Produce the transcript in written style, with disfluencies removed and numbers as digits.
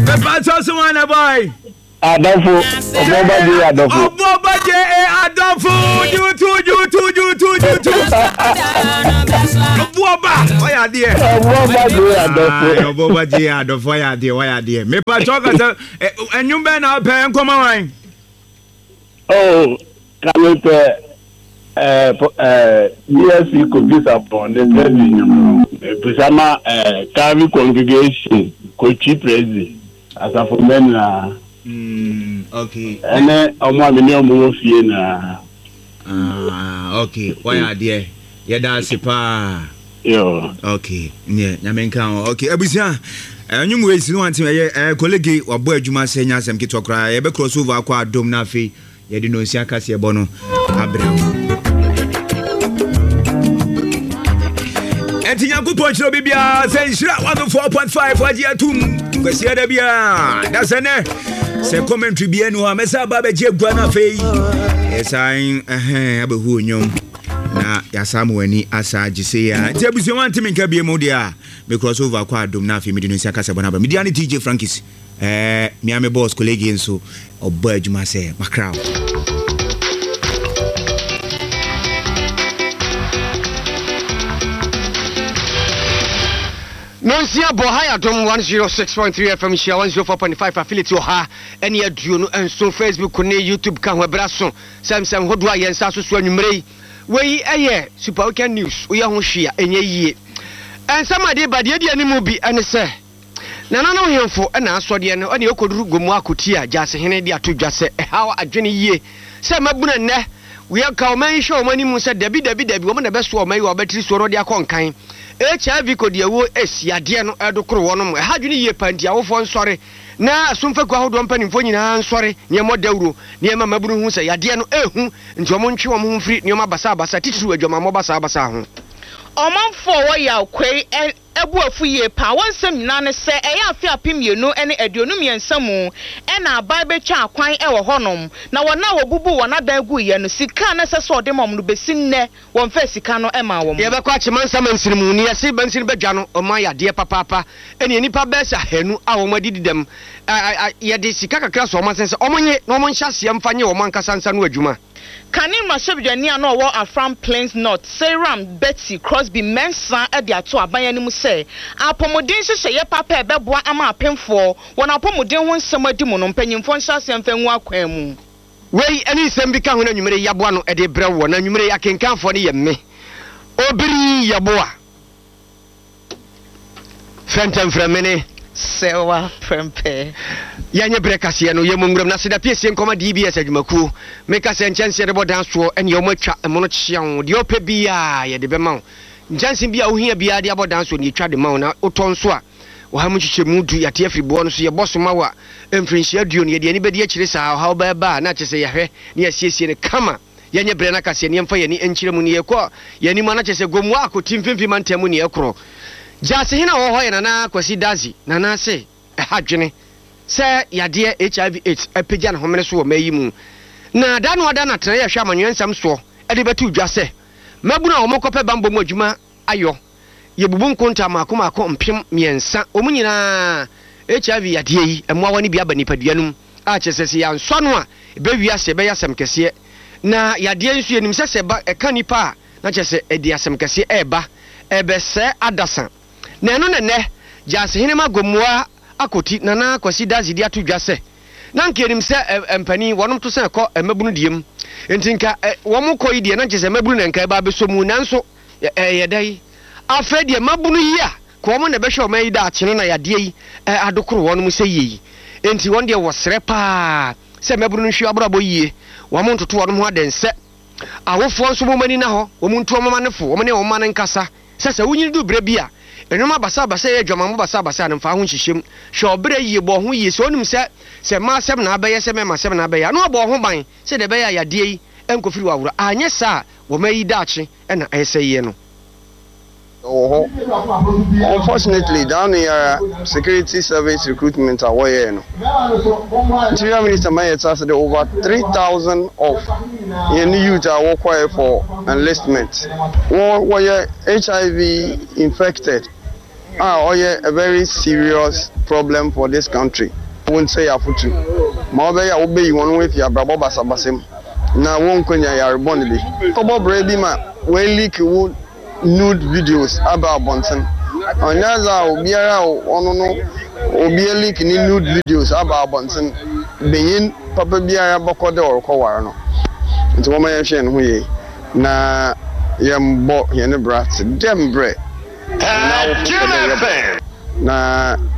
Mepakyɛw so wan na boy. Adɔfo, ɔbɔba J Adɔfo. Ɔbɔba J A Adɔfo, jutu jutu jutu jutu. Ɔbɔba, ɔyɛ adeɛ. Ɔbɔba J Adɔfo. Ɔbɔba J Adɔfo ɔyɛ adeɛ ɔyɛ adeɛ. Mepakyɛw kasa, ɛnwom bɛn na ɔpɛ nkɔma wan? Oh, ka mepɛ eh, eh, DSC Kofi Sarpong ne President nnwom no. Mebisa ma eh, Calvary Congregation Kotwi Prezi asafo mma nyinaa. Mm, okay. Ɛne ɔmo a me ne ɔmo wɔ fie nyinaa. Ah, okay. Wayɛ adeɛ. Yɛda ase paa. Yo. Okay. Neɛ, nyame nka ho. Okay, abusua. Ɛnwom wei si no wante ɛyɛ ɛɛ kolege wabɔ adwuma sɛ nyɛ asɛm ketewa koraa. Yɛbɛ cross over akɔ adom na afei yɛde nonsia kaseɛ bɔ no abrɛ wo. Ɛnti Nyankopɔn nhyira obi biara sɛ nhyira 104.5 wagye atum kwasia da biara da sɛ nɛ sɛ commentary biara ni hɔ a mɛsɛ aba abɛgye agua no afei yɛsan ɛhɛn abɛhu onyom na yɛasa ma w'ani asa agye sɛ yɛ nti abusua wantemi nka bie mu deɛ a me cross over kɔ adom na afei mede no nsia kasa bɔ no aba media ne TJ Frankis ɛɛ mea me boss colleague nso ɔbɔ adwuma sɛ makra wo. Nonsia bɔ ha yɛ Adom 106.3 FM nhyia 104.5 affiliate wɔ ha ɛne 27 Facebook ne YouTube ka ho ɛberɛ aso sɛ nsɛm hodoɔ a yɛn nsa so so anwummerɛ yi. Wei ɛyɛ Super Weekend News, woyɛ ho hwee a ɛnyɛ yie. Nsɛm a ɛde ba deɛ ɛdi anim bi ɛne sɛ Nananom hemfo na asɔdeɛ no ɛne ɛkɔduru Gomoa Akotia Gyasehene de ato dwa sɛ ɛhaw adwene yie sɛ mmabunu ɛnnɛ wia ka ɔman yi hwɛ wɔn anim sɛ dabi dabi dabi wɔn na ɛbɛsoa ɔman yi wɔ abatiri soɔ na wɔde akɔ nkan. HIV kɔdiawuo AIDS yadeɛ no ɛredokoro wɔnom ɛha adwene yie paa nti awofoɔ nsɔre na asomfekuo ahodoɔ mpanimfoɔ nyinaa nsɔre na yɛmmɔ dawuro na yɛmma mmabunu hu sɛ yadeɛ no ɛrehu nti wɔn ntwe wɔn ho mfiri nneɛma basabasa titiriw adwamammɔ basabasa ho. Ɔmanfoɔ a wɔwɔ Yaw Kwei bo afu yie paa. Wɔn nsɛm nyinaa ne sɛ ɛyɛ afe 2023 mu na aban bɛtwaa kwan wɔ hɔnom, na wɔn a wɔbubuu wɔn adan guiɛ no, sika a na ɛsɛ sɛ wɔde ma wɔn no, bɛsi nnɛ wɔmfaa sika no mmaa wɔn. Yɛbɛkɔ Akyemansa mansini mu ne yɛse mansini badwa no ɔma yadeɛ papaapa ɛne nnipa bɛyɛ sɛ ahanu a wɔn adidi dɛm a yɛde sika kakra sɔ wɔn asen sɛ wɔn nye na wɔn nhyɛ aseɛ mfa nye wɔn ankasa nsa no adwuma. Kane mmarahyɛbadwani a na ɔwɔ Afram Plains North, Seyram Betty Crosby Mensah de ato aban anim sɛ apɔmuden nhyehyɛeɛ papa a ɛbɛboa ama apemfoɔ wɔn apɔmuden ho nsɛm adi mu no mpanyimfoɔ nhyɛ aseɛ mfa ngu akwan mu. Wei ne nsɛm bi ka ho na anwummere yi yɛaboa ano de rebrɛ woɔ. Na anwummere yi akenkanfoɔ no yɛ me, Obiri Yeboah. Fɛntɛmfrɛmene. Sɛwa prɛmpɛ. Yɛnyɛ berɛ kaseɛ no, yɛmmɔ nwuram na seda piesie nkɔma DBS adwumakuo. Meka sɛ nkyɛnse yɛde bɔ dan soɔ ɛneɛ wɔn atwa ɛmono kyeaw, deɛ wopɛ biaa yɛde bɛma wo. Nkyɛnse bi a wohia biaa de abɔ dan soɔ no yɛtwa de ma wo na wotɔ nso a ɔha mu nkyekyɛmu du yɛate afiri boɔ no so yɛbɔ so ma wo a mfirinhyia aduonu yɛde ani bɛdi akyire saa ɔhaw bɛɛba a na kyerɛ sɛ yɛahwɛ na yɛasiesie no kama. Yɛnyɛ berɛ no akaseɛ na yɛmfa yɛn ani nkyerɛ mu na yɛkɔ yɛn anim a na kyerɛ sɛ Gomoa akɔti mfimfini mantam mu na yɛkorɔ. Gyaasehene a ɔwɔ hɔ yɛ Nana Kwasi Dadzie. Nana se ɛha dwene sɛ yadeɛ HIV AIDS apagya ne homene so wɔ mmaa yi mu. Na da no ada na Tenaeɛ a ɛhwɛ amanyɔɛ nsɛm soɔ de bɛtoo dwa sɛ mmabunu a wɔkɔpɛ bammɔ mu adwuma ayɔ. Yɛbubu nkonta mmaako mmaako 3000. Wɔn nyinaa HIV yadeɛ yi mmoawa no bi aba nipadua no mu a kyerɛ sɛ sɛ yɛansɔ ano a ɛbɛwie ase ɛbɛyɛ asɛm kɛseɛ. Na yadeɛ nso yɛnim sɛ sɛ ɛba ɛka nipa a na kyerɛ sɛ ɛde asɛm kɛseɛ ɛreba ɛrebɛsɛe adasa. Na ɛno na ɛnnɛ Gyaase-Henema Gomoa Akoti Nana Kwasi Dadzie de ato dwa sɛ na anka yɛnim sɛ ɛ, mpanin, wɔnom to sɛn kɔ mmabunu deɛ mu. Enti nka ɛ, wɔn kɔ yi deɛ na nkyɛ sɛ mmabunu na nka ɛba abɛsɔ mu, nanso ɛ, ɛyɛ dɛn? Afei deɛ mmabunu yi a, ka wɔn na ɛbɛhwɛ ɔman yi daakye no na yadeɛ yi ɛ, adokoro wɔnom sɛ yie yi. Enti wɔn deɛ wɔsrɛ paa sɛ mmabunu no nhwɛ abrabɔ yie, wɔn ntoto wɔnom ho adɛnsɛ. Awofoɔ nso momma ani nna hɔ, wɔn ntu wɔn mma no fo, wɔn ne wɔn mma no nkasa. Sɛ sɛ wunyin du bere bi a, nneɛma basabasa yɛ adwamammɔ basabasa no, mfa ho nhyehyɛ mu. Hwɛ ɔbra yiye, bɔ wo ho yiye. Sɛ onim sɛ sɛ mmaa asɛm na abɛyɛ sɛ mmarima asɛm na abɛyɛ a, na wabɔ wo ho ban sɛnea ɛbɛyɛ a yadeɛ yi nkɔfiri w'awora. Anyɛ saa a, wɔma yi daakye na ɛresɛeɛ no. Wɔ hɔ. Unfortunately, da no yi ara security service recruitment a wɔyɛɛ no, Interior Minister ma yɛtse ase dɛ over 3,000 of hɛn youth a wɔkɔe for enlistment wɔ wɔyɛ HIV infected. a ɔyɛ a very serious problem for this country. Wonnsɛe afotu ma ɔbɛyɛ a wobeyi hɔn ho efi abrabɔ basabasa mu na wonnkenya yar bɔn bi. Kɔbɔ bra bi ma woeleak wo nude videos aba abɔntsen. Ɔnnyɛ adze a obiara a ɔno no obi eleak ne nude videos aba abɔntsen, banyin papa biara bɔkɔ dɛ ɔrokɔwar no. Ntsi momma yɛnhwɛ hɛn ho yie na yɛmbɔ hɛn bra tse dɛ mbrɛ hɛn awofo pɛ dɛ yɛbɔ na.